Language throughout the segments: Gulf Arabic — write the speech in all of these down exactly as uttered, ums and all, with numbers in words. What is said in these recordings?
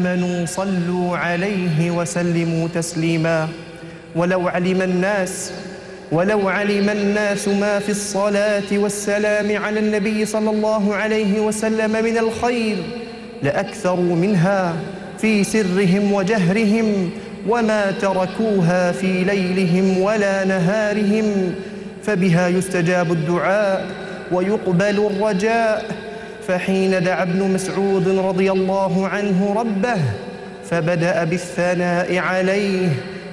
آمنوا صلوا عليه وسلموا تسليما. ولو علم الناس ولو علم الناس ما في الصلاة والسلام على النبي صلى الله عليه وسلم من الخير لأكثروا منها في سرهم وجهرهم، وما تركوها في ليلهم ولا نهارهم، فبها يستجاب الدعاء ويقبل الرجاء. فحين دعا ابن مسعود رضي الله عنه ربه فبدأ بالثناء عليه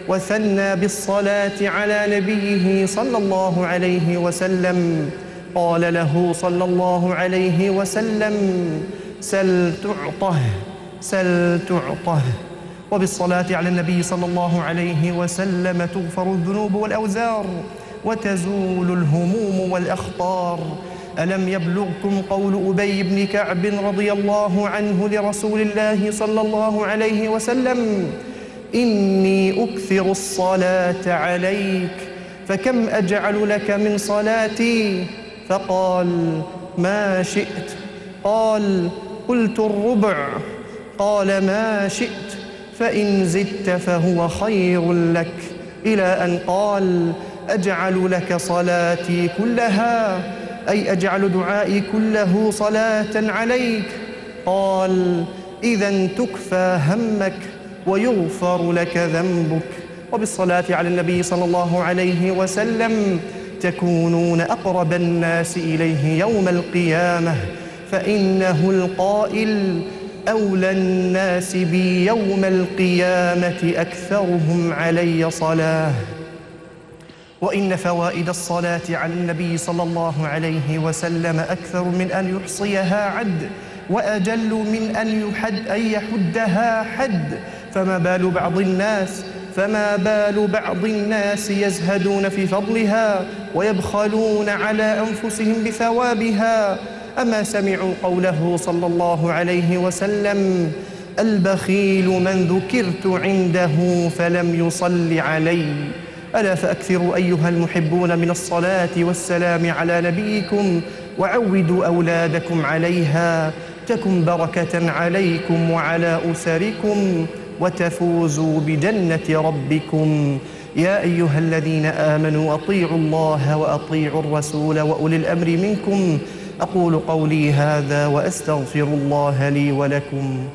وثنى بالصلاة على نبيه صلى الله عليه وسلم، قال له صلى الله عليه وسلم: سل تعطه سل تعطه. وبالصلاة على النبي صلى الله عليه وسلم تغفر الذنوب والأوزار وتزول الهموم والأخطار. ألم يبلغكم قول أبي بن كعب رضي الله عنه لرسول الله صلى الله عليه وسلم: إني أكثر الصلاة عليك فكم أجعل لك من صلاتي؟ فقال: ما شئت. قال: قلت الربع. قال: ما شئت، فإن زدت فهو خير لك، إلى أن قال: أجعل لك صلاتي كلها، أي أجعل دعائي كله صلاة عليك. قال: إذن تكفى همك ويغفر لك ذنبك. وبالصلاة على النبي صلى الله عليه وسلم تكونون أقرب الناس إليه يوم القيامة، فإنه القائل: أولى الناس بي يوم القيامة أكثرهم علي صلاة. وإن فوائد الصلاة على النبي صلى الله عليه وسلم أكثر من أن يحصيها عد، وأجل من أن يحد أن يحدها حد. فما بال بعض الناس فما بال بعض الناس يزهدون في فضلها ويبخلون على أنفسهم بثوابها. أما سمعوا قوله صلى الله عليه وسلم: البخيل من ذكرت عنده فلم يصل علي. ألا فأكثروا أيها المحبون من الصلاة والسلام على نبيكم، وعودوا أولادكم عليها، تكن بركة عليكم وعلى أسركم، وتفوزوا بجنة ربكم. يا أيها الذين آمنوا أطيعوا الله وأطيعوا الرسول وأولي الأمر منكم. أقول قولي هذا وأستغفر الله لي ولكم.